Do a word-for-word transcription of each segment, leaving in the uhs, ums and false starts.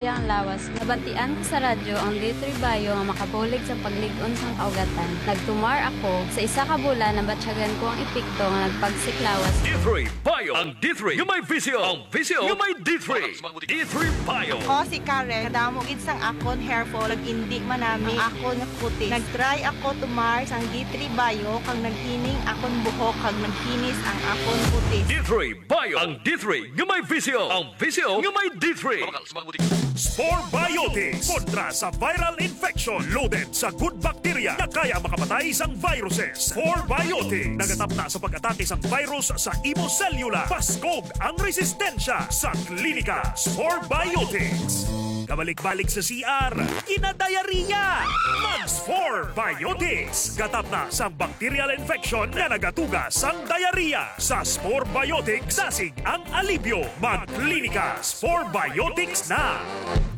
Ang lawas. Nabatian ko sa radyo ang D three Bio nga makabulig sa paglig-on sang kaugatan. Nagtumar ako. Sa isa ka bulan, nabatyagan ko ang epekto nga nagpagsik lawas. D three Bio. Ang D three nga may visyo. Ang visyo nga may D three. D three Bio. Ako si Karen. Kadamo gid sang akon hair fall. Nag-indi man nami ang akon nga kutis. Nag-try ako tumar sang D three Bio kag naghining akon buhok kag nagkinis ang akon kutis. D three Bio. Ang D three nga may visyo. Ang visyo nga may D three. Mabakal sa mga butika. Spore Biotics kontra sa viral infection. Loaded sa good bacteria nga kaya makapatay sang viruses. Spore Biotics nagatapna sa pag-atake sang virus sa imo selula. Paskog ang resistensya sa klinika. Spore Biotics. Kabalik-balik sa C R, kinadayariya. Mag-Spore Biotics. Gatapna sang bacterial infection nga nagatuga sang diarrhea. Sa Spore Biotics, dasig ang alibyo. Magklinika Spore Biotics na.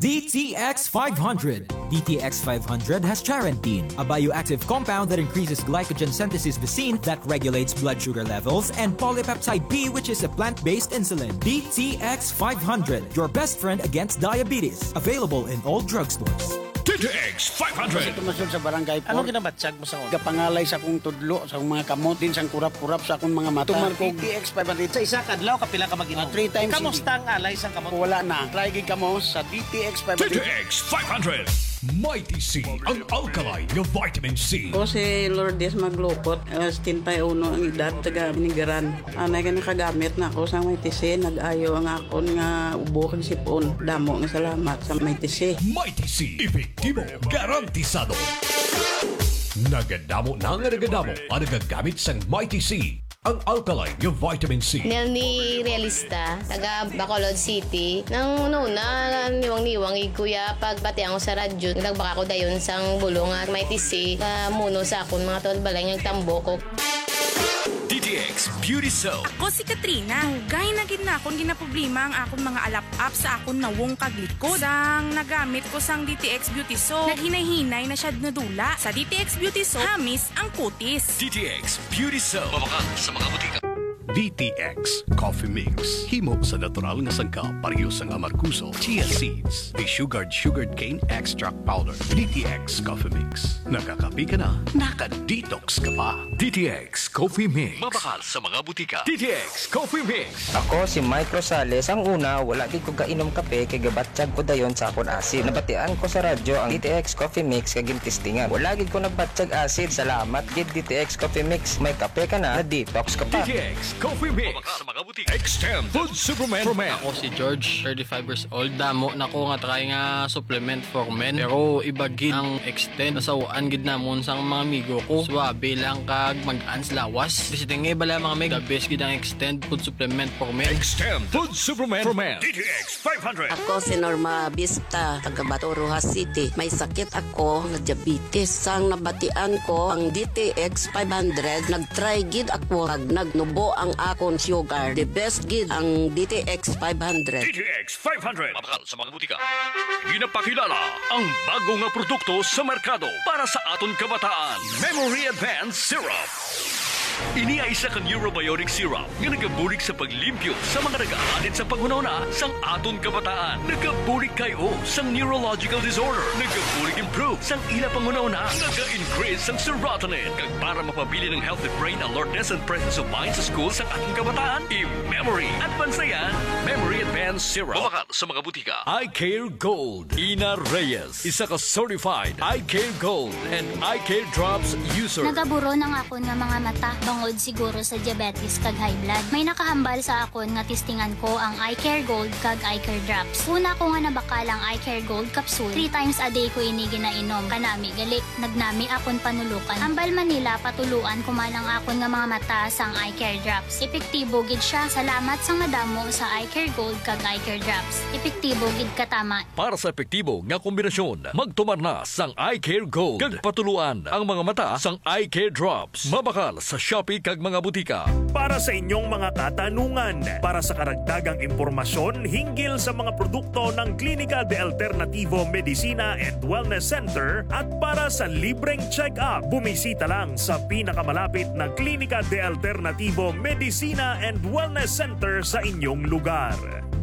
D T X five hundred. D T X five hundred has charantine, a bioactive compound that increases glycogen synthesis V C that regulates blood sugar levels, and polypeptide P, which is a plant-based insulin. D T X five hundred, your best friend against diabetes. Available in all drugstores. D T X five hundred. Tumasod sa barangay. Ano ginabatyag mo sa una? Gapangalay sa akong tudlo, sa akong mga kamot, din sang kurap-kurap sa akong mga mata. Tumar ko D T X five hundred. Sa isa ka adlaw, kapila ka mag-inom? Ah, three times a day. Kamusta ang alay sang kamot? Wala na. Try gid kamo sa D T X five hundred. D T X five hundred. Mighty C, ang alkaline nga vitamin C. Ako si Lourdes Maglukot, ah, setenta y uno ang edad, taga Binigaran. Anay ka nakagamit na ako sa Mighty C, nag-ayo ang akon nga ubo kag sipon. Damo nga salamat sa Mighty C. Mighty C, epektibo, garantisado. Nagadamo na nga nagadamo ang nagagamit sang Mighty C, ang alkaline nga vitamin C. Nelny Realista, taga Bacolod City. Nang una-una, niwang-niwang gid, kuya, pag batian ko sa radyo, nagbaka ko dayon sang bulong nga Mighty C, nga muno sa akon mga tuod balay nga nagtambok ko. D T X Beauty Soap. Ako si Katrina. Dugay na gid na akon ginaproblema ang akon mga alap-ap sa akon nawong kag likod. Sang nagamit ko sang D T X Beauty Soap, naghinay-hinay na siya nadula. Sa D T X Beauty Soap, hamis ang kutis. D T X Beauty Soap. Mabakal sa mga butika. D T X Coffee Mix. Himo sa natural nga sangkap, pareho sang amargoso, chia seeds, desugared sugarcane extract powder. D T X Coffee Mix. Nakakape ka na, naka-detox ka pa. D T X Coffee Mix. Mabakal sa mga butika. D T X Coffee Mix. Ako si Mike Rosales. Ang una, wala gid ko gainom kape kay gabatyag ko dayon sa akon acid. Nabatian ko sa radyo ang D T X Coffee Mix kag gintistingan. Wala gid ko nagbatyag acid. Salamat gid, D T X Coffee Mix. May kape ka na, na-detox ka pa. D T X Coffee Mix. Mabakal sa mga butika. Extend Food Supplement. Ako si George, thirty-five years old. Damo na ko nga try nga supplement for men. Pero iba gid ang Extend. Nasawaan gid namon sang mga amigo ko. Suabe lang kag mag-an sa lawas. Bisi tingay bala, mga mig. The best gid ang Extend Food Supplement for Men. Extend Food Supplement for Men. D T X five hundred. Ako si Norma Vista, taga Bato, Roxas City. May sakit ako nga diabetes. Sang nabatian ko ang D T X five hundred, nag-try gid ako kag nagnubo ang akon sugar. The best gid ang D T X five hundred. D T X five hundred. Mabakal sa mga butika. Ginapakilala ang bago nga produkto sa merkado para sa aton kabataan, Memory Advance Syrup. Ini ay isa ka neurobiotic syrup nga nagabulig sa paglimpyo sa mga nagahalin sa panghunahuna sang aton kabataan. Nagabulig kay o sang neurological disorder. Nagabulig improve sang ila panghunahuna. Naga-increase sang serotonin. Kag para mapabilin ang healthy brain alertness and presence of mind sa school sang aton kabataan, i-Memory Advance na yan. Memory Advance Syrup. Mabakal sa mga butika. Eye Care Gold. Ina Reyes, isa ka certified Eye Care Gold and Eye Care Drops user. Nagaburon ang akon nga mga mata, bangod siguro sa diabetes kag high blood. May nakahambal sa akon nga testingan ko ang Eye Care Gold kag Eye Care Drops. Una ko nga nabakal ang Eye Care Gold capsule, three times a day ko ini ginainom. Kanami gali, nagnami akon panulukan. Hambal man nila, patuluan ko man ang akon nga mga mata sang Eye Care Drops. Epektibo gid siya. Salamat sang madamo sa Eye Care Gold kag Eye Care Drops. Epektibo gid katama. Para sa epektibo nga kombinasyon, magtumar na sang Eye Care Gold kag patuluan ang mga mata sang Eye Care Drops. Mabakal sa Shopee kag mga butika. Para sa inyong mga katanungan, para sa karagdagang impormasyon hinggil sa mga produkto ng Klinika de Alternativo Medicina and Wellness Center at para sa libreng check-up, bumisita lang sa pinakamalapit na Klinika de Alternativo Medicina and Wellness Center sa inyong lugar.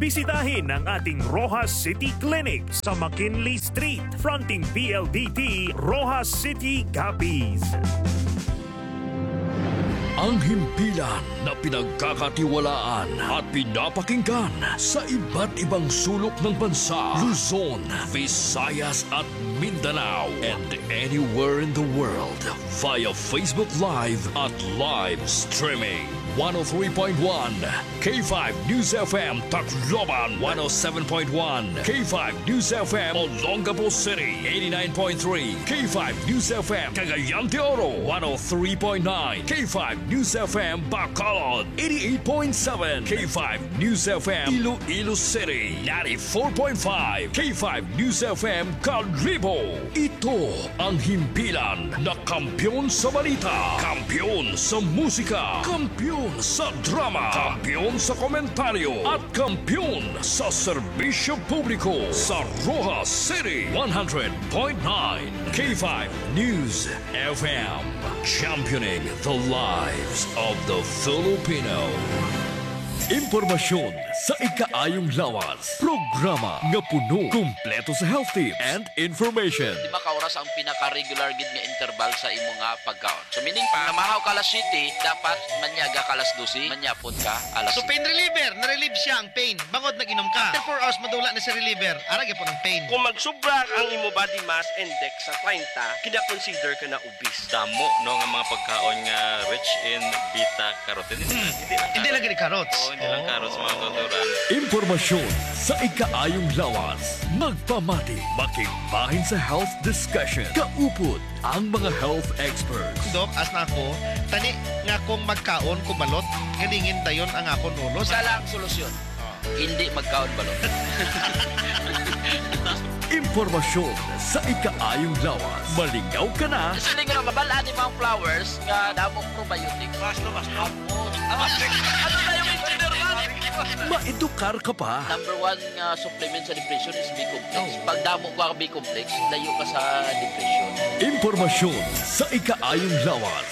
Bisitahin ang ating Roxas City Clinic sa McKinley Street, fronting P L D T, Roxas City, Capiz. Ang himpilan na pinagkakatiwalaan at pinapakinggan sa iba't ibang sulok ng bansa, Luzon, Visayas at Mindanao, and anywhere in the world via Facebook Live at live streaming. One oh three point one K five News F M Tacloban, one oh seven point one K five News F M Olongapo City, eighty-nine point three K five News F M Cagayan de Oro, one oh three point nine K five News F M Bacolod, eighty-eight point seven K five News F M Iloilo City, ninety-four point five K five News F M Kalibo. Ito ang himpilan na kampiyon sa balita, kampiyon sa musika, kampiyon sa drama, kampiyon sa komentaryo, at kampiyon sa serbisyo publiko sa Roxas City, one hundred point nine K five News F M. Championing the lives of the Filipino. Impormasyon sa ikaayong lawas. Programa nga puno, kumpleto sa health tips and information. Di ba ka oras ang pinaka-regular gid nga interval sa imo nga pagkaon? So, meaning pa, namahaw ka alas siyete, dapat manyaga ka alas dose, manyapon ka alas So, siyete. Pain reliever, na-relieve siya ang pain. Bangod nag-inom ka. After four hours, madula na sa reliever. Ara gyapon ang pain. Kung magsubra ang imo body mass index sa treinta, kina-consider ka na obese. Damo, no, nga mga pagkaon nga rich in beta carotene. Hindi lang Hindi lang carrots. Gani carrots. Oo, hindi lang Oh. carrots, mga kauturan. Impormasyon sa ikaayong lawas. Magpamati, makigbahin sa health discussion. Kaupod ang mga health experts. Dok, as na ako, tani nga kung magkaon ko balot, galingin dayon ang akon ulo. Isa lang solusyon. Oh. Hindi magkaon balot. Impormasyon sa ikaayong lawas. Malingaw ka na. Actually, nga mabal-an ni Mount Flowers nga damo probiotics. Basta, basta. Ano na yung engineer, man? Maedukar ka pa. Number one nga supplement sa depression is B-complex. Oh. Pag damo ka B-complex, layo ka sa depression. Impormasyon sa ikaayong lawas.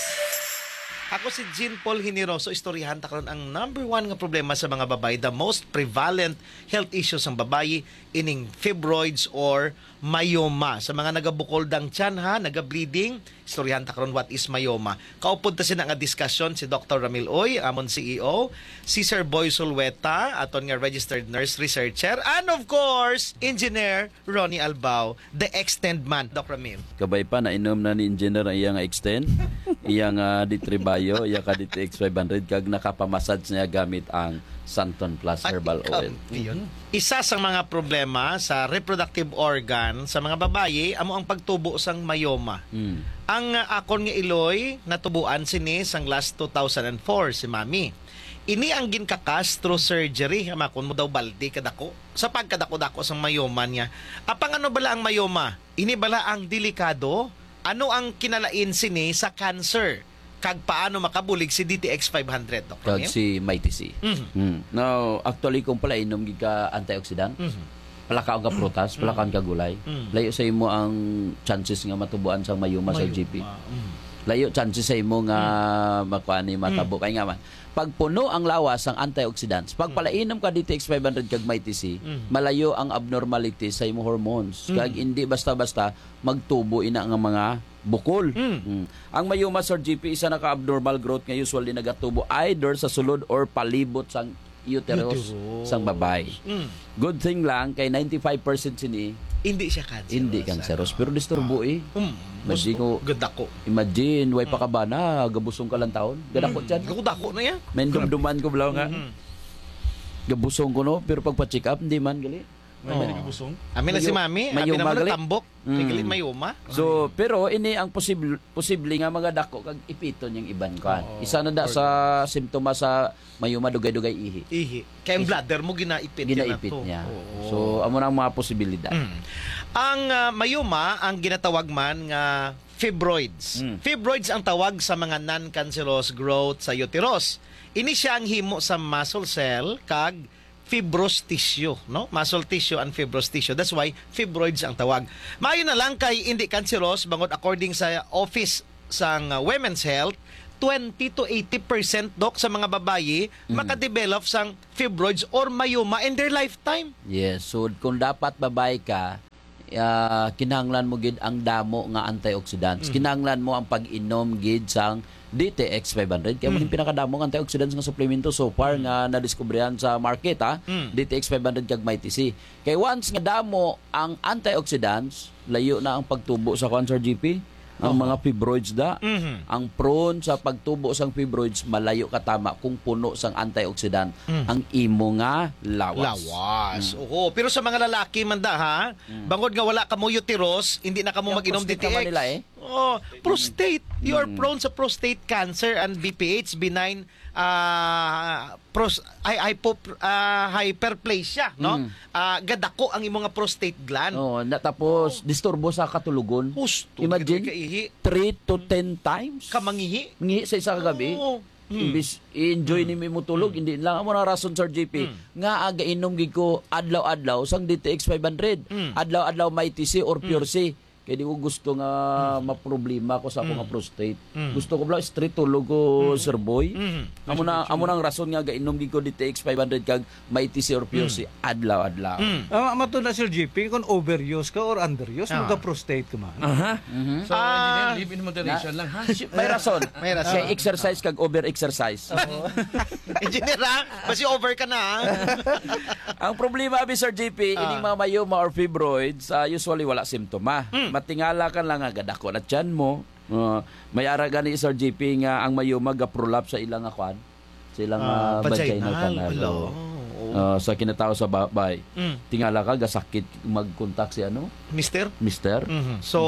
Ako si Jean Paul Generoso. Istoryahan ta karon ang number one nga problema sa mga babayi, the most prevalent health issues sang babayi, ining fibroids or myoma. Sa mga nagabukol dang tiyan, ha, nagableeding, istoryahan ta karon what is myoma. Kaupod ta sina nga diskusyon si Doktor Ramil Uy, amon C E O, si Sir Boy Sulweta, aton nga registered nurse researcher, and of course, Engineer Ronnie Albao, the extend man, Doc Ramil. Kabay pa, nainom na ni Engineer ang iya nga extend, iya nga D three Bio, iya ka D T X five hundred, kag nakapamassage niya gamit ang Santon Plus Ay, Herbal Oil. Kampiyon. Isa sa mga problema sa reproductive organ sa mga babayi amo ang pagtubo sang myoma. Mm. Ang, ah, akon nga iloy natubuan sini sang last two thousand and four, si Mami. Ini ang ginkakas through surgery, ang akon mo daw baldi kadako. Sa pagkadako-dako sang myoma niya. Apang ano bala ang myoma? Ini bala ang delikado? Ano ang kinalain sini sa cancer? Kag paano makabulig si D T X five hundred, Doktor Kag Neil? Si Mighty C. Mhm. Mm. Now, actually, kung palainom gid ka antioxidant, Mhm. palakaon ka prutas, Mm. palakaon ka gulay, Mm. layo sa imo ang chances nga matubuan sang myoma sa Myoma. G P. Mm. Layo chances sa imo nga Mm. makuha ni matabo. Mm. Kay nga man, pag puno ang lawas sang antioxidants, pag Mm. palainom ka D T X five hundred kag Mighty C, Mm. malayo ang abnormalities sa imo hormones. Mm. Kag hindi basta-basta magtubo ina nga mga bukol. Mm. Mm. Ang myoma, Sir G P, isa na ka abnormal growth nga usually nagatubo either sa sulod or palibot sang uterus Uterus. sang babae. Mm. Good thing lang kay ninety-five percent sini Hindi siya cancerous, hindi cancerous, ano? Pero disturbo, Ah. eh. Mm. Imagine Gusto, ko, gadako. Imagine, way pa Mm. ka bana, gabusong ka lang taon. Gadako Mm. tiyan. Gadako na yan. May Grabe. dumduman ko balaw nga. Mm-hmm. Gabusong ko, no? Pero pagpa-check up, hindi man, gali. May, may Oo. nagabusong? Amin na si Mayo-, Mami, abi mayoma naman gali. ang tambok. Kay Mm. gali mayoma. So, Ay. pero ini ang posible, posible nga mga dako kag ipiton yung iban, kuan. Oo. Isa na da Or sa simptomas sa mayoma, dugay-dugay ihi. Ihi. Kay ang Ihi. bladder mo ginaipit yan Ginaipit ato. niya. Oo. So, amo na ang mga posibilidad. Mm. Ang, ah, mayoma, ang ginatawag man nga fibroids. Mm. Fibroids ang tawag sa mga non-cancerous growth sa uterus. Ini siya ang himo sa muscle cell kag fibrous tissue, no? Muscle tissue and fibrous tissue. That's why fibroids ang tawag. Maayo na lang kay hindi cancerous, bangod according sa Office sang, uh, Women's Health, twenty to eighty percent, Doc, sa mga babayi Mm. makadevelop sang fibroids or myoma in their lifetime. Yes. So, kung dapat babae ka, ah, kinahanglan mo gid ang damo nga antioxidants. Mm. Kinahanglan mo ang pag-inom gid sang D T X five hundred. Kaya mo Mm. yung pinakadamo nga antioxidants nga suplemento so far Mm. nga nadiskubrihan sa market, ha? Mm. D T X five hundred kag Mighty C. Kay once nga damo ang antioxidants, layo na ang pagtubo sa kuan, Sir G P. Ang Oho. mga fibroids da, Mhm. ang prone sa pagtubo sang fibroids, malayo ka tama kung puno sang antioxidant Mm. ang imo nga lawas. Lawas. Mm. Oo. Pero sa mga lalaki man da, ha, Mm. bangod nga wala kamo uterus, hindi na kamo Yung mag-inom prostate D T X. naman nila, eh. Oh, prostate. You are Mm. prone sa prostate cancer and B P H, benign, ah, pros-, ay, hypo-, ah, hyperplasia, no? Mm. Ah, gadako ang imo nga prostate gland. Oo, na, tapos Oh. disturbo sa katulogon. Husto, Imagine, gid kaihi. three to ten times. Ka mangihi. Mangihi sa isa ka gabi. Oo. Mm. Imbis i-enjoy Mm. nimo imong tulog, Mm. hindi lang. Amo na rason, Sir G P, Mm. nga aga inom gid ko adlaw-adlaw sang D T X five hundred. Mm. Adlaw-adlaw Mighty C or Mm. Pure C. Kay di ko gusto nga Mm. maproblema ko sa akong Mm. prostate. Mm. Gusto ko bala straight tulog ko, Mm. Sir Boy. Mm. Amo na, Yes, amo na ang rason nga gainom gid ko D T X five hundred kag Mighty C or Pure Mm. C adlaw-adlaw. Mm. Ah, mato na, Sir G P, kung overuse ka or underuse, Ah. magka-prostate ka man. Aha. Mhm. So, Ah. engineer, live in moderation Na, lang, ha? si-, may rason. May rason. Kay exercise kag over-exercise. Oo. Engineer, ha? Basi over ka na, ha? Ang problema, abi, Sir G P, Ah. ining mga myoma or fibroids, ah, usually wala simptoma. Mm. Matingala ka lang nga gadako na tiyan mo. Ah, may ara gani, Sir G P, nga ang myoma ga-prolapse sa ilang nga kwan, sa ilang, Ah, ah, vaginal vaginal. canal. Hello. Oo. Oo. Ah, sa kinatawo sa babay. Mm. Tingala ka, gasakit mag-contact si ano? Mister? Mister? Mhm. So,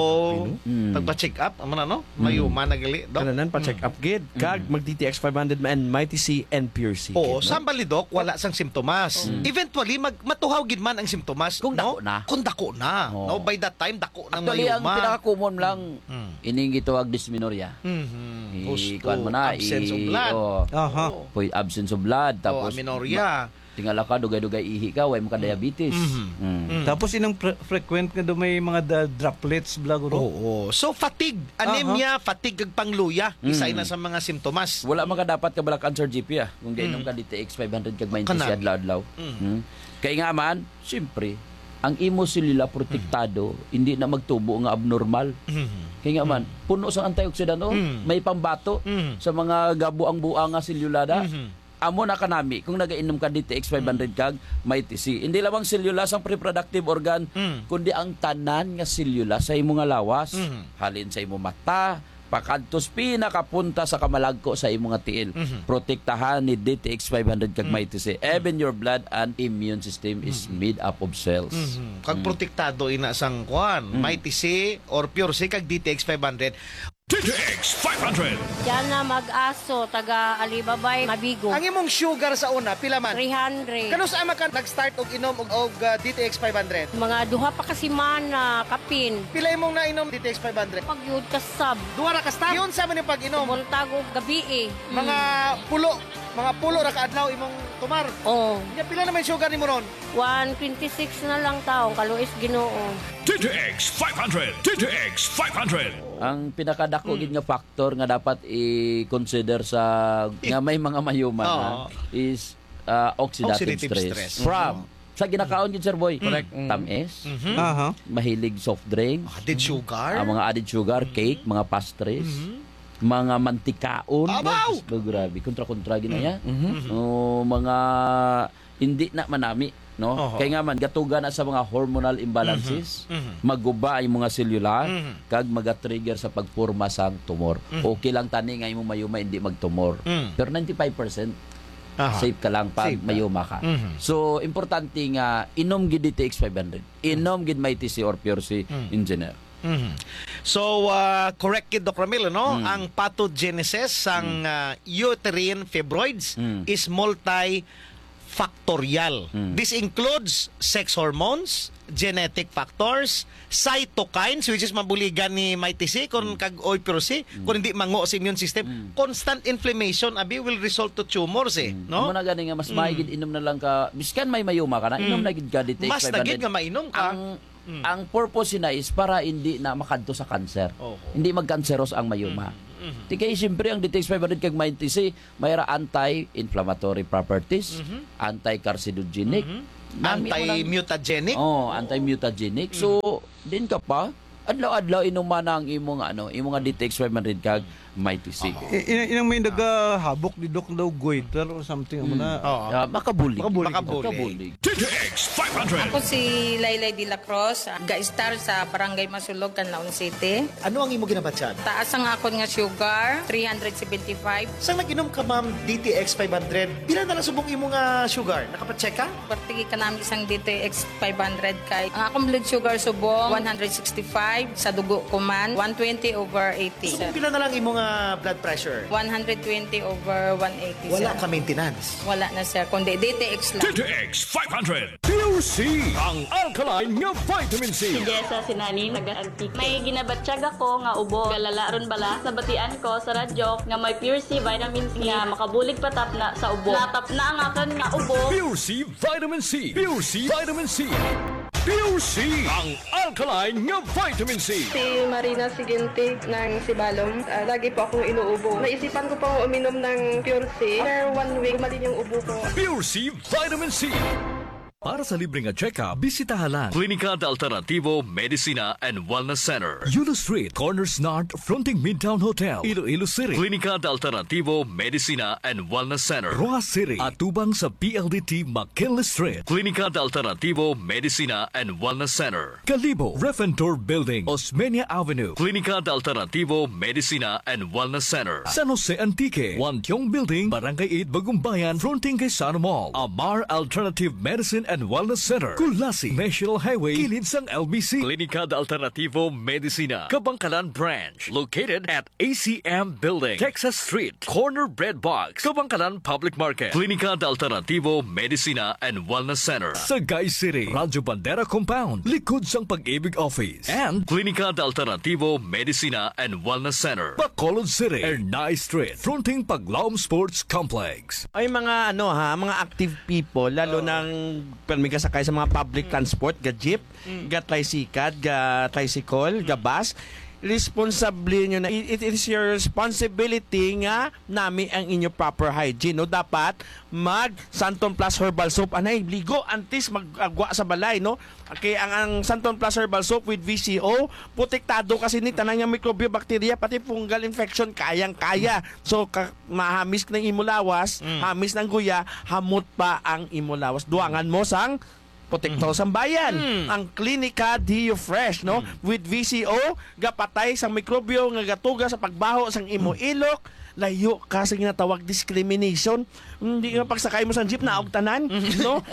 Pino? Mm. pagpa-check up, amo na, no? Mm. Myoma na gali, Doc? Kananan, pa-check Mm. up gid. Kag Mm. mag-D T X five hundred man, Mighty C and Pure C Oo, gid, no? sambal ni Doc, wala sang simptomas. Mm. Eventually, mag-, matuhaw gid man ang simptomas, Kung no? dako na. Kung dako na, Oo. no? By that time, dako na ang Actually, ang myoma. pinaka-common lang, Mm. ining gitawag dysmenorrhea. Mhm. I-, Husto. kuwan mo na, Absence of i-, blood. oo. Aha. Oo. Puy-, absence of blood, Oo, tapos amenorrhea. ma-, tingala ka, dugay-dugay ihi ka, way mo ka Mm. diabetes. Mhm. Mm. Mm. Tapos inang pre-, frequent nga daw may mga da-, droplets, bla, guro? Oo. So, fatigue, Aha. anemia, fatigue, kag pangluya, isa Mm. na sa mga simptomas. Wala man ka dapat kabalakan, Sir G P, ah, kung gainom Mm. ka D T X five hundred kag Mighty C Kanal. adlaw-adlaw. Mm. Hmm? Kay nga man, siyempre, ang imo selula protektado, Mm. hindi na magtubo nga abnormal. Mm. Kay nga man, Mm. puno sa antioxidant, oh, Mm. may pambato Mm. sa mga gabuang-buang nga selula da. Mm. Amo na kanami kung nagainom ka D T X five hundred Mm. kag Mighty C. Hindi lamang selula sang reproductive organ, Mm. kundi ang tanan nga selula sa imo nga lawas. Mm. Halin sa imo mata, pakadto sa pinakapunta sa kamalagko sa imo nga tiil. Mhm. Protektahan ni D T X five hundred kag Mm. Mighty C. Mm. Even your blood and immune system is Mm. made up of cells. Mhm. Kag Mm. protektado ina sang kuan, Mm. Mighty C or Pure C kag D T X five hundred. D T X five hundred. Diana Mag-aso, taga Alibabay, Mabigo. Ang imong sugar sa una, pila man? Three hundred. Kanus-a man ka nag-start og inom og, og, ah, D T X five hundred? Mga duha pa ka semana, kapin. Pila imong nainom D T X five hundred? Pagyud ka sab. Duha ra ka stop? Yun sa man yung pag-inom? Buntag o gabi eh. Mga Mm. pulo, mga pulo ra ka adlaw imong tumar? Oo. Nya, pila naman sugar nimo ron? One twenty-six na lang taong, kaluis Ginoo. D T X five hundred, D T X five hundred. Ang pinakadako Mm. gid nga factor nga dapat i-consider sa, nga may mga myoma na Oo. is, ah, oxidative Oxidative stress. stress. From, Mm. sa ginakaon gid, Sir Boy. Correct. Mm. Tamis, Mhm. Aha. mahilig soft drinks, Added sugar. ah, mga added sugar, Mm. cake, mga pastries, Mhm. mga mantikaon. Abaw! Oh, grabe, kontra-kontra gid na Mm. ya. Mhm. Mhm. Oh, mga hindi na manami, no? Oho. Kay nga man, gatuga na sa mga hormonal imbalances, Mhm. Mhm. maguba ang mga selula, Mhm. kag maga-trigger sa pagporma sang tumor. Mhm. Okay lang tani nga imong myoma hindi magtumor. Mm. Pero ninety-five percent Aha. safe ka lang pag Safe ka. myoma ka. Mhm. So, importante nga inom gid D T X five hundred. Inom gid Mighty C or Pure C, Mm. engineer. Mhm. So, ah, correct gid, Doc Ramil, no? Mm. Ang pathogenesis sang, Mm. ah, uterine fibroids Mm. is multifactorial. Mm. This includes sex hormones, genetic factors, cytokines, which is mabuligan ni Mighty C, kung Mm. kag oy, pero si, Mm. kung hindi mango sa immune system, Mm. constant inflammation, abi, will result to tumors, eh, Mm. no? Amo na gani nga mas Mm. maigid inom na lang ka, biskan may myoma ka na, inom Mm. na gid ka D T X Mas na gid five hundred. nga mainom ka. Ang Mm. Ang purpose sina is para hindi na makadto sa cancer. Oho. Hindi magkanseros ang myoma. Mm, mm. Di kay siyempre ang D T X five hundred kag Mighty C, may ra anti-inflammatory properties, Mhm. anti-carcinogenic. Mhm. Nami mo nang Anti-mutagenic? Oh, anti-mutagenic. So, din ka pa, adlaw-adlaw inuman ang imo nga, ano, imo nga D T X five hundred kag Mighty C. I-, in-, inang may nagahabok ni Doc daw goiter or something, amo na. Oo. Ah, makabulig. Makabulig. Makabulig. D T X five hundred. Ako si Laylay de la Cruz, ga-star sa Barangay Masulog, Canlaon City. Ano ang imo ginabatyag? Taas ang akon nga sugar, three hundred seventy-five. Sang nag-inom ka, ma'am, D T X five hundred, pila na lang subong imo nga sugar? Nakapacheck ka? Perti kanami sang D T X five hundred kay ang akong blood sugar subong one hundred sixty-five, sa dugo ko man one twenty over eighty. So, kung pila na lang imo nga blood pressure? One hundred twenty over one eighty, Wala sir. ka maintenance? Wala na, sir, kundi D T X lang. D T X five hundred. Pure C, ang alkaline nga vitamin C. Si Jessa Sinanin, taga Antique. May ginabatyag ako nga ubo. Galala ron bala, nabatian ko sa radyo nga may Pure C vitamin C nga makabulig patapna sa ubo. Natapna ang akon nga ubo. Pure C Vitamin C. Pure C Vitamin C. Pure C, ang alkaline nga vitamin C. Si Marina Sigintig ng Sibalom. Ah, lagi po akong inuubo. Naisipan ko pong uminom ng Pure C. After one week, gumaling yung ubo ko. Pure C Vitamin C. Para sa libre nga check-up, bisitaha lang Klinika de Alternativo Medicina and Wellness Center. Yulo Street, corners North, fronting Midtown Hotel, Iloilo City. Klinika de Alternativo Medicina and Wellness Center. Roxas City, atubang sa P L D T McKinley Street. Klinika de Alternativo Medicina and Wellness Center. Kalibo, Refentor Building, Osmeña Avenue. Klinika de Alternativo Medicina and Wellness Center. San Jose Antique, Wantiong Building, Barangay eight, Bagumbayan, fronting kay Sano Mall. Amar Alternative Medicine and Wellness Center, Culasi, National Highway, kilid sang L B C. Klinika de Alternativo Medicina, Kabangkalan Branch, located at A C M Building, Texas Street, corner Bread Box, Kabangkalan Public Market. Klinika de Alternativo Medicina and Wellness Center, Sagay City, Radyo Bandera Compound, likod sang Pag-ibig Office. And Klinika de Alternativo Medicina and Wellness Center, Bacolod City, Ernai Street, fronting Paglaom Sports Complex. Ay, mga ano ha, mga active people, lalo Oo. nang permi ka sakay sa mga public Mm. transport, ga jeep, Mm. ga tricycad, ga tricycle, ga Mm. bus, responsable nyo na. It, it is your responsibility nga nami ang inyo proper hygiene, no? Dapat mag Santon Plus Herbal Soap, anay, ligo antes mag-agwa sa balay, no? Okay, ang, ang Santon Plus Herbal Soap with V C O, protektado kasi ni tanan nga mikrobyo, bakterya, pati fungal infection, kayang-kaya. So, ka-, mahamis ng imo lawas, Mm. hamis ng guya, hamot pa ang imo lawas. Duangan mo sang protektor Mm. sang bayan, Mm. ang Klinika Dio Fresh, no? Mm. With V C O, gapatay sang mikrobyo nga gatuga sa pagbaho sang imo Mm. ilok, layo ka sa ginatawag discrimination. Hindi nga pagsakay mo sa jeep, naog tanan, Mm. no?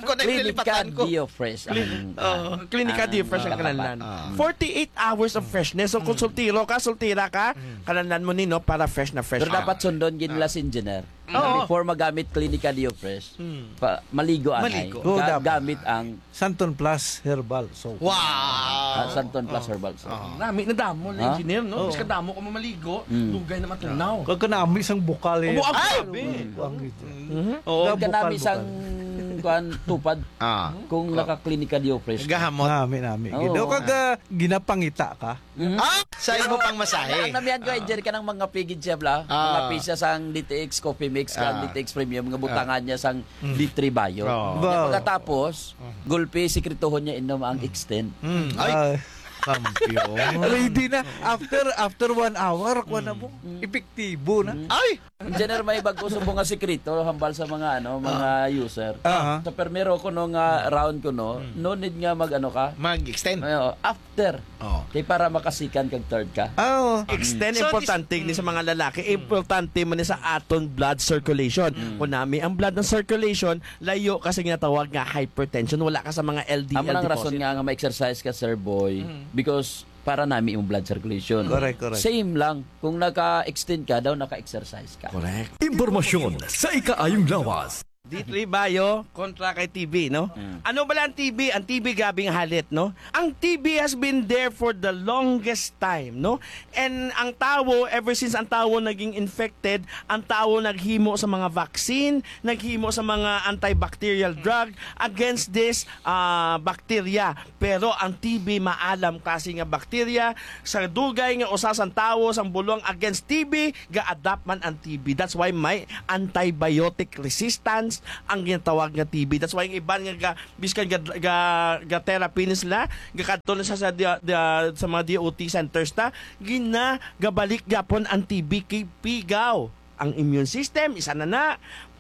Kung Klinika nalilipatan ko. Dio Fresh ang, Klin-, oh, ah, Klinika ang Dio Fresh ang nakapat. Kinahanglan. Ah. Forty-eight hours of freshness. So, kung Mm. sultiro ka, sultira ka, Mm. kinahanglan mo ni, no, para fresh na fresh Pero ka. dapat sundon gid nila Ah. si engineer. Oo. Before magamit Klinika Dio Fresh, Hmm. pa, maligo anay. Maligo. Oo, Ga-, dapat. gamit ang Santon Plus Herbal Soap. Wow! Ah, Santon Plus Oh. Herbal Soap. Oh. Nami na damo na Ha? engineer, no? Oo. Mas kadamo ko mamaligo, Hmm. dugay na matunaw. Kag kanami sang bukal, eh. Ubo, ang Ay! grabe. Ang ito. Mhm. Oo. Ang Ang kanami bukal, sang bukal. kuan, tupad. Ah. Kung Oh. naka-Klinika Dio Fresh. Gahamot. Nami, nami. Oo. Gid. O, kag, ah, ginapangita ka. Mhm. Ah, sa imo pang masahe. Ang namihan ko, Ah. Jerry, ka ng mga pigid siya, bla? Ah. Mga pisa sang D T X Coffee Mix, kag Ah. D T X Premium, nga butangan Ah. niya sang Mm. D three Bio. Oh. Kaya Wow. pagkatapos, Mm. gulpi, sikretohon niya inom ang Mm. extend. Mm. Ay! Ah. Kampiyon. Ready na. After, after one hour, kuha na Mm. mo. Mm. Epektibo na. Mm. Ay! Engineer, may bag-o subong nga sikreto hambal sa mga, ano, mga Ah. user. Aha. Sa primero ko, no, nga Mm. round ko, no, Mm. no need nga mag, ano ka. Mag-extend. Ay, oh, after. Oh. Kay para makasikan kag third ka. Ah, oh. Extend, So, importante ni sa mm. mga lalaki, Mm. importante man ni sa aton blood circulation. Mm. Kung nami ang blood ng circulation, layo ka sa ginatawag nga hypertension, wala ka sa mga L D L Amo nang deposit. rason nga, nga ma-exercise ka, Sir Boy, Mm. because para nami imong blood circulation. Correct, correct. Same lang. Kung naka-extend ka, daw naka-exercise ka. Correct. Impormasyon sa ikaayong lawas. D three Bio kontra kay T B, no? Mm. Ano bala ang T B? Ang T B, grabing halit, no? Ang T B has been there for the longest time, no? And ang tawo, ever since ang tawo naging infected, ang tawo naghimo sa mga vaccine, naghimo sa mga antibacterial drug against this, ah, bacteria. Pero ang T B, maalam klase nga bacteria, sa dugay nga usa sang tawo, sang bulong against T B, ga-adapt man ang T B. That's why may antibiotic resistance ang ginatawag nga T B. That's why ang iban nga ga-, biskan ga, ga, ga-therapy na sila, gakadto na sa, sa, dia-, dia-, sa mga D O T centers ta, ginagabalik gyapon ang T B kay pigaw ang immune system, isa na na,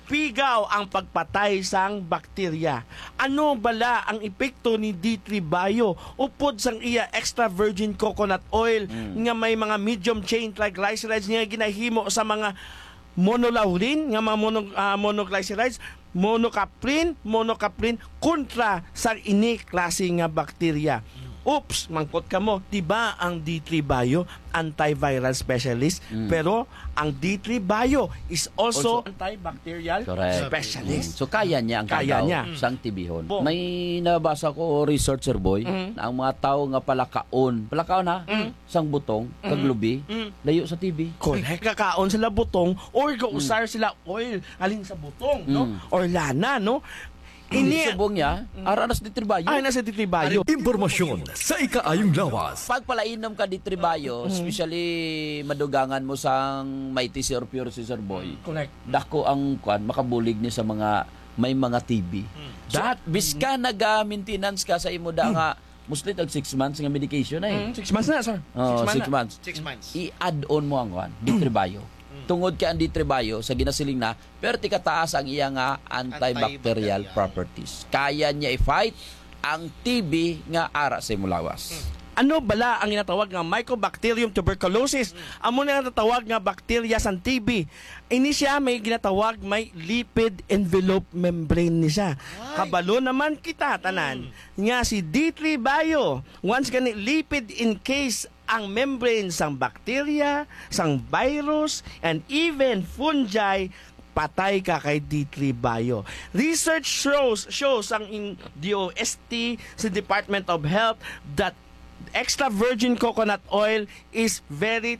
pigaw ang pagpatay sang bakterya. Ano bala ang epekto ni D three Bio upod sang iya extra virgin coconut oil Mm. nga may mga medium chain triglycerides nga ginahimo sa mga monolaurin, nga mga mono-, ah, monoglycerides, monocaprin, monocaprin kontra sa ini klase nga bakterya? Oops, mangkot kamo, di ba ang D three Bio antiviral specialist? Mm. Pero ang D three Bio is also Also antibacterial Correct. specialist. Mm. So, kaya niya ang Kaya kagaw niya. sang tibihon. Bo. May nabasa ko, researcher boy, Mm. na ang mga tao nga palakaon, palakaon ha, Mm. sang butong, kag Mm. lubi, Mm. layo sa T B. Correct. Kakaon sila butong or gausar Mm. sila oil alin sa butong, no? Mm. Or lana, no? Hindi Ini subong niya, Mm. ara na sa D three Bio. Ay, nasa D three Bio. Impormasyon sa ikaayong lawas. Pag palainom ka D three Bio, Mm. especially madugangan mo sang Mighty C or Pure C, sir boy. Correct. Dako ang kwan, makabulig ni sa mga may mga T B. Mm. So, That biska naga-maintenance ka sa imo da nga mostly tag six months nga medication na eh. Mm, six months na, sir. Oh, Six months six na. months. Six months. I-add on mo ang kwan, D three Bio. Mm. Tungod kay ang D three Bio, sa ginasiling na, perti kataas ang iya nga antibacterial Antibacterial. properties. Kaya niya i-fight ang T B nga ara sa imo lawas. Mm. Ano bala ang ginatawag nga Mycobacterium tuberculosis? Mm. Amo na ang natawag nga bakterya sang T B. Ini siya may ginatawag may lipid envelope membrane ni siya. Ay. Kabalo naman kita tanan Mm. nga si D three Bio, once gani lipid encase ang membrane sang bakterya, sang virus, and even fungi, patay ka kay D three Bio. Research shows, shows ang in D O S T sa Department of Health that extra virgin coconut oil is very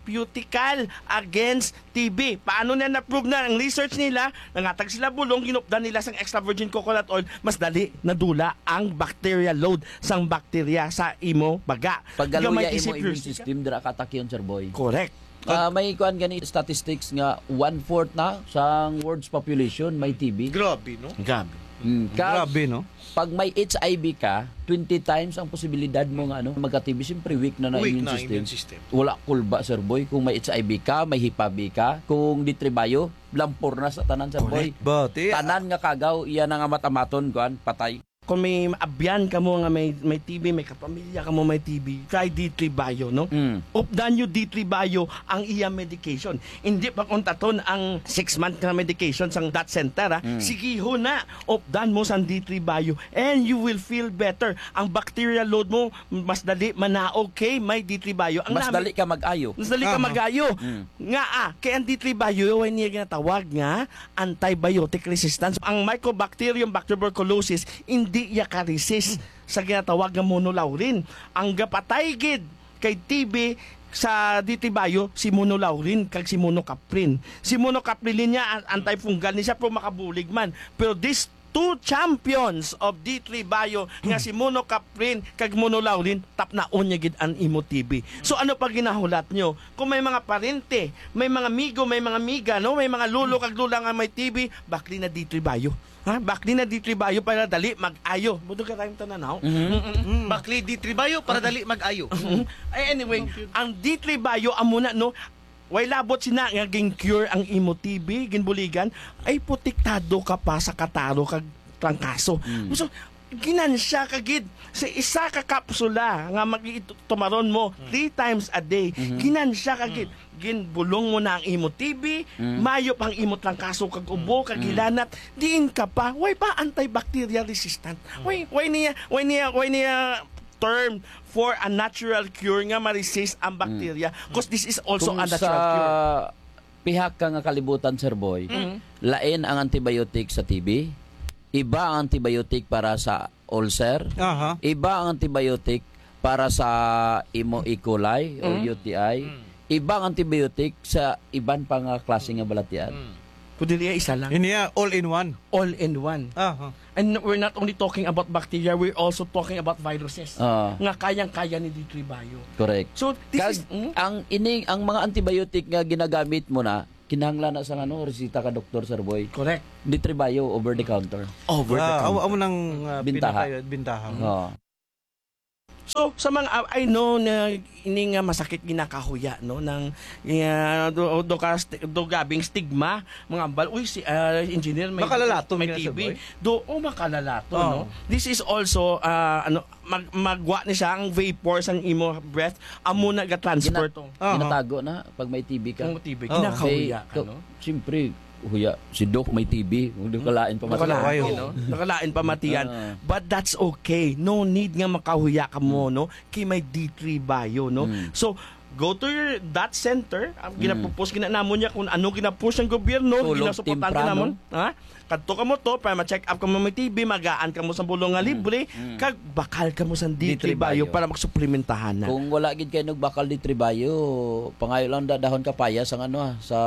therapeutical against T B. Paano na na-prove na ang research nila? Nangatag sila bulong, ginupdan nila sang extra virgin coconut oil, mas dali nadula ang bacterial load sang bakterya sa imo baga. Paggaluya Gamay imo isip immune yourself. system, dira ka atake, sir boy. Correct. Ah, may kuan gani statistics nga one-fourth na sang world's population may T B. Grabe, no? Grabe. Mm, kag Grabe, no? pag may H I V ka, twenty times ang posibilidad mo nga, ano, magka-T B. Siyempre, weak na na Weak immune na system. immune system. Wala kulba, sir boy, kung may H I V ka, may hipabi ka, kung D three Bio, lampor na sa tanan, sir boy. Correct. But, eh, Tanan nga kagaw, iya na nga matamaton, kuan, patay. Kung may abyan kamo nga may, may T B, may kapamilya kamo may T B, try D three Bio, no? Mm. Updan nyo D three Bio ang iya medication. Hindi pag-untaton ang six month nga medication sang that center, ha? Mm. Sige ho na, updan mo sang D three Bio and you will feel better. Ang bacterial load mo, mas dali manaog kay may D three Bio. Ang Mas nami- dali ka mag-ayo. Mas dali ka Aha. mag-ayo. Mm. Nga, ah, kay ang D three Bio, way niya ginatawag nga antibiotic resistance. Ang Mycobacterium bacteroburculosis, hindi iya ka-resist sa ginatawag nga monolaurin. Ang gapatay gid kay T B sa D three Bio, si monolaurin kag si monocaprin. Si monocaprin niya, an-, antifungal ni siya, pero makabulig man. Pero these two champions of D three Bio nga si monocaprin kag monolaurin, tapnaon niya gid ang imo T B. So, ano pa ginahulat nyo? Kung may mga parente, may mga amigo, may mga amiga, no? May mga lolo kag lola nga may T B, bakli na D three Bio. Ha? Bakli na D three Bio para dali mag-ayo. Buto ka tayong tanan, ha? Mhm. Mm-mm. Mm. Bakli D three Bio para dali mag-ayo. Mm. Ay, anyway, ang D three Bio, amo na, no? Way labot sina nga gin-cure ang imo T B, ginbuligan, ay protektado ka pa sa kataro kag trangkaso. Mm. So, ginansya ka gid sa isa ka kapsula nga mag-, tumaron mo Mm. three times a day. Mhm. Ginansya ka gid. Mm. Ginbulong mo na ang imo T B, Mm. mayo pa ang imo trangkaso kag ubo, Mm. kag Mm. hilanat, diin ka pa, way pa antibacterial resistant. Mm. Way, way niya, way niya, way niya term for a natural cure nga ma-resist ang Mm. bakterya. 'Cause this is also Kung a natural sa cure. pihak ka nga kalibutan, Sir Boy, Mm. lain ang antibiotic sa T B, iba ang antibiotic para sa ulcer, Aha. iba ang antibiotic para sa imo E. coli o Mm. U T I, Mm. iba ang antibiotic sa iban pa nga klase nga balatian. Mm. Kundi niya isa lang. Ini ya, all in one. All in one. Aha. And we're not only talking about bacteria, we're also talking about viruses Ah. nga kayang-kaya ni D three Bio. Correct. So, this Kag is, mm? ang ini, ang mga antibiotic nga ginagamit mo na, kinahanglan na sa ano, resita ka doktor, Sir Boy. Correct. D three Bio, over the counter. Over the Ah, amo, counter. amo nang, ah, Bintaha. pinaka-, bintaha. Oo. So, sa mga, ah, I know na ini nga masakit ginakahuya, no, ng, ah, do, do ka sti-, do gabing stigma, mga ambal, "Uy, si, ah, engineer, may, Makalalaton may nga, Sir T B." Boy. Do, oh, makalalaton, Oo. no? This is also, ah, ano, mag-, magwa ni siya ang vapor sang imo breath, amo na ga-transfer Gina-, to. Oo. ginatago na pag may T B ka. Kung T B, Oo. ginakahuya May ka, to-, no? siyempre, huya, si Doc may T B, kung di ka lain pa Nakalain, matayo. no? Nakalain pa matiyan. Ah. But that's okay. No need nga makahuya ka mo, Hmm. no? Kay may D three Bio, no? Hmm. So, go to your, that center. Ang Hmm. ginapupos, ginanamon niya kung ano ginapos ang gobyerno, Tulog ginasuportahan temprano. ginamon. Ha? Kadto ka mo to, para ma-check up ka mo may T B, magaan ka mo sa bulong nga Hmm. libre, Hmm. kag bakal ka mo sa D three D three Bio Bio. para magsuplementahan na. Kung wala gid kayo nagbakal D three Bio, pangayo lang da-, dahon kapayas ang ano, ah, sa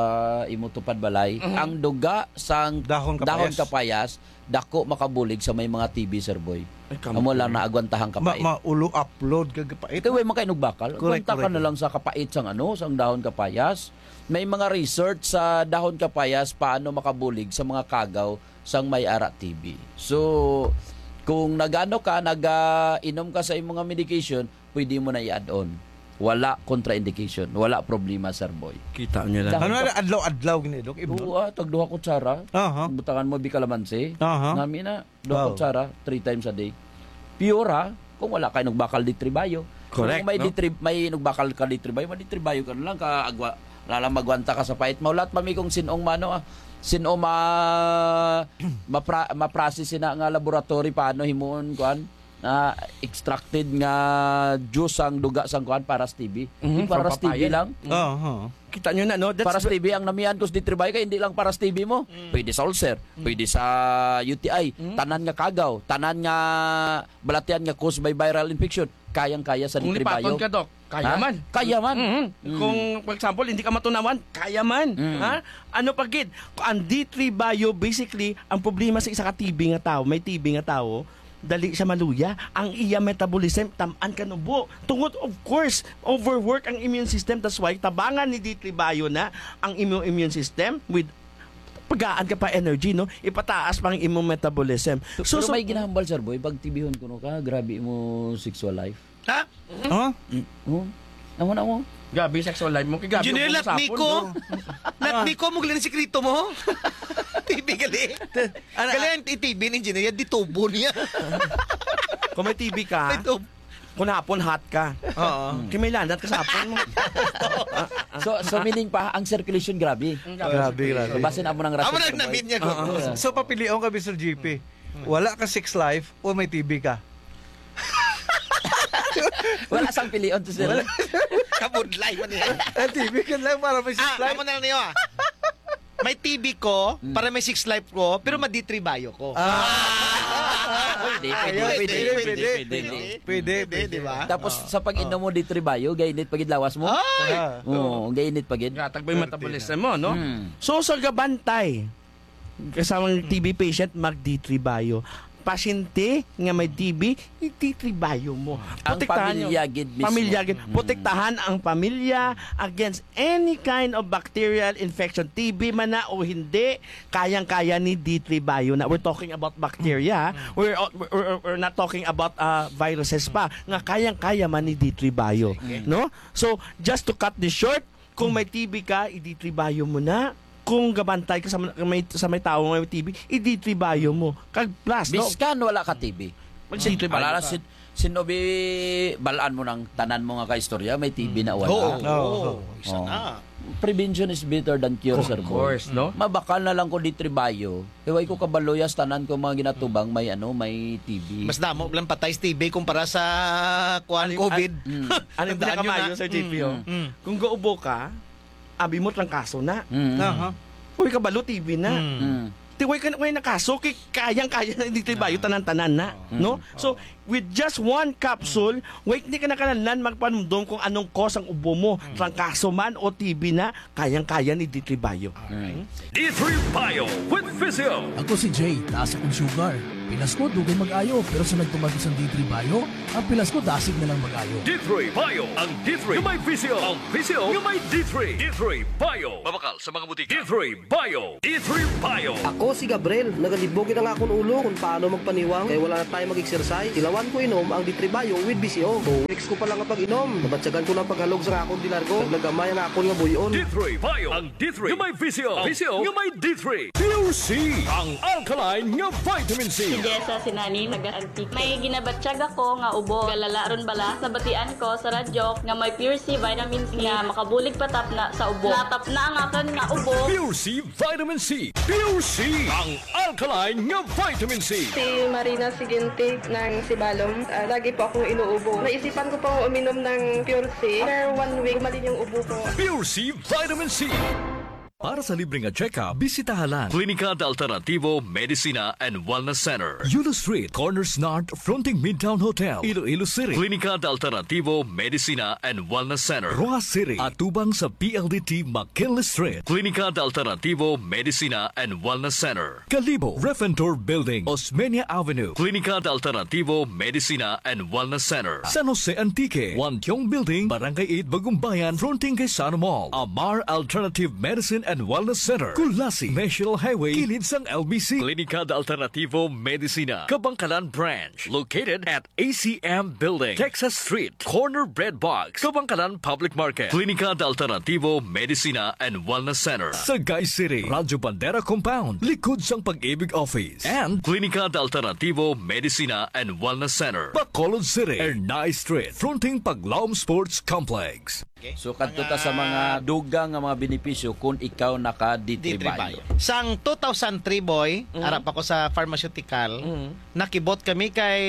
imo tupad balay. Mhm. Ang duga sang Dahon dahon kapayas. kapayas, dako makabulig sa may mga T B, Sir Boy. Ay, Amo lang kampay. naagwantahang Ma-, kapait. maulo upload kag kapait. Kay way man kayo nagbakal. Correct, Agwanta ka correct. na lang sa kapait sang ano, sang dahon kapayas. May mga research sa dahon kapayas paano makabulig sa mga kagaw sang may ara T B. So, kung nagano ka, nag-inom ka sa imong mga medication, pwede mo na i-add on. Wala contraindication, wala problema, Sir Boy. Kita niyo lang. Dahon Ano ka- na, adlaw-adlaw gini, Dok? Ibnon? Oo, ah, tag duha kutsara. Aha. Butangan mo bikalamansi. Aha. Nami na, duha Wow. kutsara, three times a day. Pure, ha? Kung wala kay nagbakal D three Bio. Correct, Kung may no? D three, may nagbakal ka D three Bio, ma-D three Bio ka na lang, ka agwa, lalang magwanta ka sa pait. Maulat pa mi kung sinong mano, ah. Sino ma-, mapra-, ma-process na nga laboratory, paano himuon, kuan? Ah, extracted nga juice ang duga sang kuan para sa T B. Mhm, Di para from sa T B papaya. lang. Mhm. Oo, oo. Kita nyo na, no? That's Para sa ve- T B ang namian ko sa D three Bio kay hindi lang para sa T B mo. Mm. Pwede sa ulcer, Mm. pwede sa U T I, Mm. tanan nga kagaw, tanan nga balatian nga caused by viral infection, kayang-kaya sa Kung D three Bio. lipaton ka, Doc, kaya Ha? man. Kaya man. Mhm. Mm. Kung, for example, hindi ka matunawan, kaya man. Mm. Ha? Ano pa gid? Ang D three Bio, basically, ang problema sa isa ka T B nga tao, may T B nga tao, dali siya maluya. Ang iya metabolism, tam-an ka nubo. Tungod, of course, overwork ang immune system. That's why, tabangan ni D three Bio na ang imong immune system with pagaan ka pa energy, no? Ipataas pa ang imong metabolism. So, So, pero so, may ginahambal, Sir Boy, pag T B-hon kuno ka, grabe mo sexual life. Ha? Huh? Mm, oh. Amo na mo. Grabe sexual life mo. Kay grabe Engineer, mo lat sapon, niko. no? Lat niko, mo galing sikreto mo. T B gali. Ana- Gali ang T B ni engineer, di tubo niya. Kung may T B ka, May tubo. kung hapon hot ka. Oo. Kay may lanat ka sa hapon mo. So, so meaning pa, ang circulation grabe. Ang Grabe, grabe. So, basin amo nang Amo rason, nang Sir Boy. namin niya, Oo. Gogo. So, papilion ka, Mister G P. Wala ka sex life o may T B ka? Wala sang pilion to, sir. Wala. Kabudlay man niya. Ang T B ka lang para may sex Ah, life. amo na lang niyo, ah. May T B ko, Mm. para may sex life ko, pero ma-D three Bio ko. Ah. Pwede, pwede, Ayun, pwede, pwede, pwede, pwede, pwede. pwede. Pwede, Pwede, pwede. di ba? Tapos, Oh. sa pag-inom mo, D three Bio, gainit pa gid lawas mo. Ay! Ah. Oo, gainit pa gid. Gatag ba yung Pwerte metabolism na. mo, no? Hmm. So, sa gabantay, kasamang T B patient, mag-D three Bio. Pasyente nga may T B, i-D three Bio mo. Ang Protektahan nyo. pamilya gid mismo. Pamilya gid. Hmm. Protektahan ang pamilya against any kind of bacterial infection. T B man na o hindi, kayang-kaya ni D three Bio na. We're talking about bacteria, ha? Hmm. We're, we're, we're not talking about, uh, viruses pa. Nga kayang-kaya man ni D three Bio. Sige. No? So, just to cut this short, kung may T B ka, i-D three Bio mo na. Kung gabantay ka sa may, sa may tawo nga may T B, i-D three Bio mo. Kag plus, no? Biskan wala ka T B. Mag-D three Bio Alala ka. sin-, sino bi-, balaan mo ng tanan mo nga kaistorya, may T B na wala. Oo, Oo. oo, isa Oo. na. Prevention is better than cure, Of Sir Boy. course, no? Mabakal na lang ko D three Bio. Kay way ko kabalo ya sa tanan ko mga ginatubang may, ano, may T B. Mas damo lang patay sa T B kumpara sa, kuwan, Ano yung, COVID. Mm. Ano yung Tandaan nyo pinakamayo, na. Sir J P, oh? Mm. Mm. Kung gaubo ka, Abi mo, trangkaso na. Mm. Aha. Uy, kabalo, T B na. Mm. Mm. Ti, way ka, way nakaso, kay kayang-kaya na, D three Bio, Ah. tanan-tanan na, Oo. no? Mm. So, Oo. with just one capsule, way, hindi ka na kinahanglan magpanumdom kung anong cause ang ubo mo, Mm. trangkaso man o T B na, kayang-kaya ni D three Bio. Alright. Mm. D three Bio with Physio. Ako si Jay, taas akong sugar. Pilas ko, dugay mag-ayo, pero sa nagtumag sang D three Bio, ang pilas ko dasig na lang mag-ayo. D three Bio, ang D three nga may Physio, ang Physio nga may D three. D three Bio. Mabakal sa mga butika. D three Bio. D three Bio. Ako si Gabriel. Nagalibog gid ang akon ulo kung paano magpaniwang kay wala na tayo mag-exercise. Ilawan ko inom ang D three Bio with B C O. Two weeks ko pa lang nga pag-inom, nabatyagan ko na ang paghalog sa akon dilargo. Naglagamay ang akon nga buyon. D three Bio. Ang D three nga may Physio. Physio nga may D three. Pure C, ang alkaline nga vitamin C. Si Jessa Sinani, taga Antique. May ginabatyag ako nga ubo. Galala ron bala, nabatian ko sa radyo nga may Pure C vitamin C nga makabulig patapna sa ubo. Natapna ang akon nga ubo. Pure C Vitamin C. Pure C, ang alkaline nga vitamin C. Si Marina Siginti ng Sibalom. Ah, lagi po akong inuubo. Naisipan ko pong uminom ng Pure C. After one week, gumaling yung ubo ko. Pure C Vitamin C. Para sa libre nga check-up, bisitaha lang Klinika de Alternativo Medicina and Wellness Center, Yulo Street, Corners North, fronting Midtown Hotel, Iloilo City. Klinika de Alternativo Medicina and Wellness Center, Roxas City, atubang sa P L D T McKinley Street. Klinika de Alternativo Medicina and Wellness Center, Kalibo, Refentor Building, Osmeña Avenue. Klinika de Alternativo Medicina and Wellness Center, San Jose Antique, Wantiong Building, Barangay eight, Bagumbayan, fronting kay Sano Mall. Amar Alternative Medicine and Wellness Center, Culasi, National Highway, kilid sang L B C. Klinika de Alternativo Medicina, Kabangkalan Branch, located at A C M Building, Texas Street, corner Bread Box, Kabangkalan Public Market. Klinika de Alternativo Medicina and Wellness Center, Sagay City, Radyo Bandera Compound, likod sang Pag-ibig Office. And Klinika de Alternativo Medicina and Wellness Center, Bacolod City, Ernai Street, fronting Paglaom Sports Complex. Okay. So, kadto ta sa mga dugang nga mga benepisyo kung ikaw naka D three D three Bio. Bio. Sang two thousand three, boy, Mm. ara pa ko sa pharmaceutical, Mm. nakibot kami kay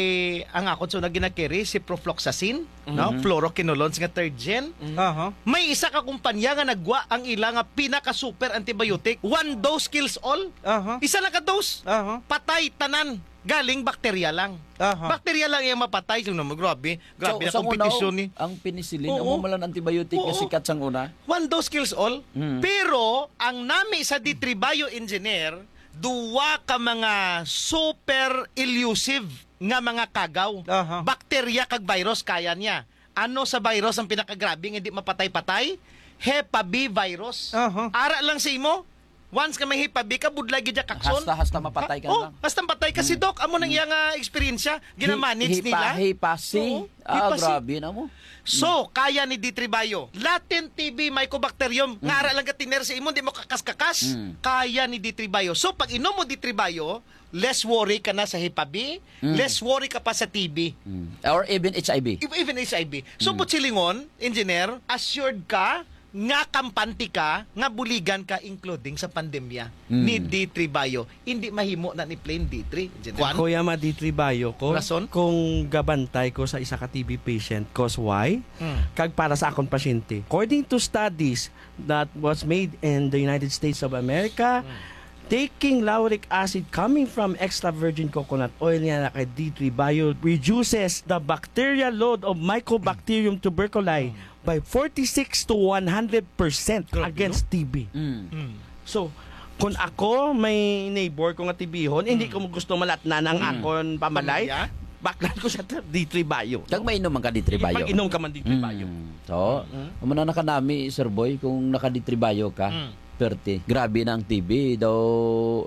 ang akon so na ginakiri, ciprofloxacin, no? Mhm. Fluoroquinolones nga third gen. Mm. Aha. May isa ka kumpanya nga nagwa ang ila nga pinaka-super antibiotic. One dose kills all. Aha. Isa lang ka dose. Aha. Patay tanan. Galing bakterya lang. Aha. Bakterya lang iyang mapatay. So, naman, grabe. Grabe So, na sa una, kompetisyon ni. Ang penicillin, Oo. amo man lang antibiotic nga Oo. sikat sang una. One dose kills all. Mm. Pero, ang nami sa D three Bio engineer, duwa ka mga super elusive nga mga kagaw. Aha. Bakterya kag virus kaya niya. Ano sa virus ang pinakagrabe nga di mapatay-patay? Hepa B virus. Aha. Ara lang sa imo. Once ka may hepa B ka, budlay gid ya kakson. Hasta, hasta mapatay ka Ha? Oh, lang. hasta mapatay ka. Si Hmm. Doc, amo nang Hmm. iya nga eksperyensya. Ginamanage Hi-, hipa-, nila. hipa C. Oo. Ah, Hipa C. grabe na mo. So, Hmm. kaya ni D three Bio. Latent T B Mycobacterium, nga Hmm. ara lang ka tiner sa imo, di mo kakas-kakas. Hmm. Kaya ni D three Bio. So, pag inom mo D three Bio, less worry ka na sa hepa B, Mm. less worry ka pa sa T B. Mm. Or even H I V. Ev-, even H I V. So, Mm. but silingon, engineer, assured ka nga kampante ka, nga buligan ka, including sa pandemya Mm. ni D three Bio. Hindi mahimo na ni plain D three, engineer. Ako ya ma D three Bio ko, Rason? kung gabantay ko sa isa ka T B patient, cause why? Mm. Kag para sa akon pasyente. According to studies that was made in the United States of America, Mm. taking lauric acid coming from extra virgin coconut oil nga naka D three Bio reduces the bacterial load of Mycobacterium tuberculosis Mm. by forty-six to one hundred percent Grabe, against no? T B. Mm. Mm. So, kung ako may neighbor ko nga T B-hon, hindi Mm. ko gusto malatnan ang Mm. akon pamalay, Pamilya? baklan ko siya D three Bio. Kag mainom man ka D three Bio. Pag-inom ka man D three Bio. Mm. So, Mm. amo na nakanami, Sir Boy, kung naka D three Bio ka. Mm. Perte. Grabe na ang T B. Daw,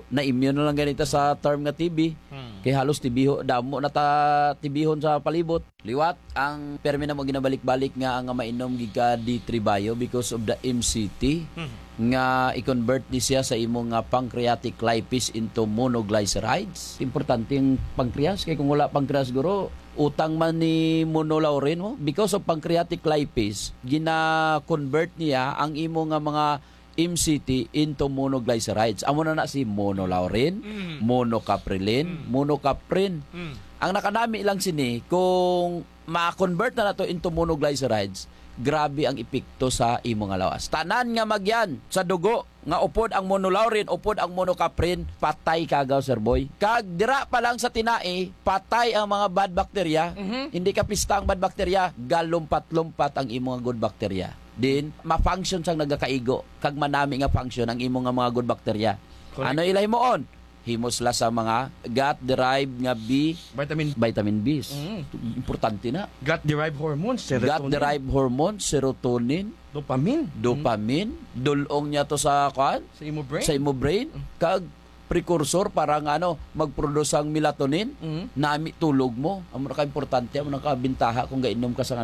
na-immune na lang ganita sa term nga T B. Hmm. Kay halos T B ho, damo na ta T B-hon sa palibot. Liwat, ang permi na mo ginabalik-balik nga ang mainom gid ka D three Bio because of the M C T Hmm. nga i-convert ni siya sa imo nga pancreatic lipase into monoglycerides. Importante ang pancreas, kay kung wala pancreas, guro, utang man ni monolaurin mo. Because of pancreatic lipase, gina-convert niya ang imo nga mga M C T into monoglycerides. Amo na na si monolaurin, Mm. monocaprilin, Mm. monocaprin. Mm. Ang nakanami lang sini, kung ma-convert na nato into monoglycerides, grabe ang epekto sa imo nga lawas. Tanan nga magyan sa dugo nga upod ang monolaurin, upod ang monocaprin, patay ka agaw, Sir Boy. Kag dira pa lang sa tinai, patay ang mga bad bacteria. Mhm. Hindi ka pista ang bad bacteria, galumpat-lumpat ang imo nga good bacteria. Din, ma-function sang nagakaigo, kag manami nga function ang imo nga mga good bacteria. Correct. Ano ila himuon? Himo sila sa mga gut-derived nga B, Vitamin. Vitamin Bs. Mm. Importante na. Gut-derived hormones, serotonin. Gut-derived hormones, serotonin, Dopamine. Dopamine, dulong niya to sa, kuan? Sa imo brain. Sa imo brain, Mm. kag precursor para nga, ano, mag-produce ang melatonin. Mm. Nami tulog mo. Amo na ka importante, amo na ka bintaha kung gainom ka sa, ano,